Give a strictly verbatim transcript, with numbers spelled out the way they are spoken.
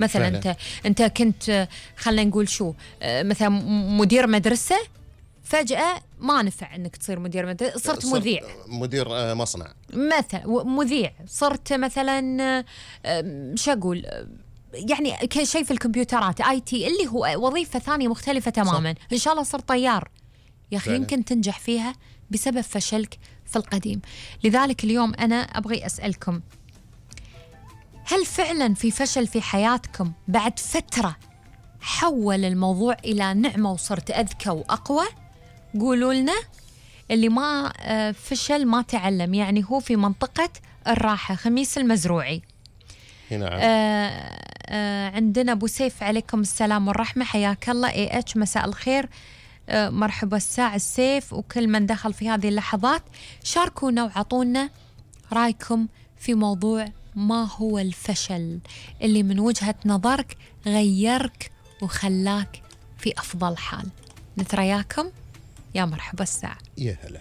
مثلا فعلا. انت انت كنت خلينا نقول شو مثلا مدير مدرسه، فجأة ما نفع انك تصير مدير مدرسه، صرت, صرت مذيع، مدير مصنع مثلا، مذيع، صرت مثلا شو اقول يعني شيء في الكمبيوترات اي تي اللي هو وظيفه ثانيه مختلفه تماما. صح. ان شاء الله صرت طيار يا اخي، يمكن تنجح فيها بسبب فشلك في القديم. لذلك اليوم انا ابغي اسالكم، هل فعلا في فشل في حياتكم بعد فتره حول الموضوع الى نعمه وصرت اذكى واقوى؟ قولوا لنا. اللي ما فشل ما تعلم، يعني هو في منطقه الراحه. خميس المزروعي. نعم. آه آه عندنا أبو سيف، عليكم السلام والرحمة، حياك الله. اي اتش مساء الخير، آه مرحبا الساعة السيف وكل من دخل في هذه اللحظات. شاركونا وعطونا رأيكم في موضوع ما هو الفشل اللي من وجهة نظرك غيرك وخلاك في أفضل حال. نترياكم، يا مرحبا الساعة. يا هلا.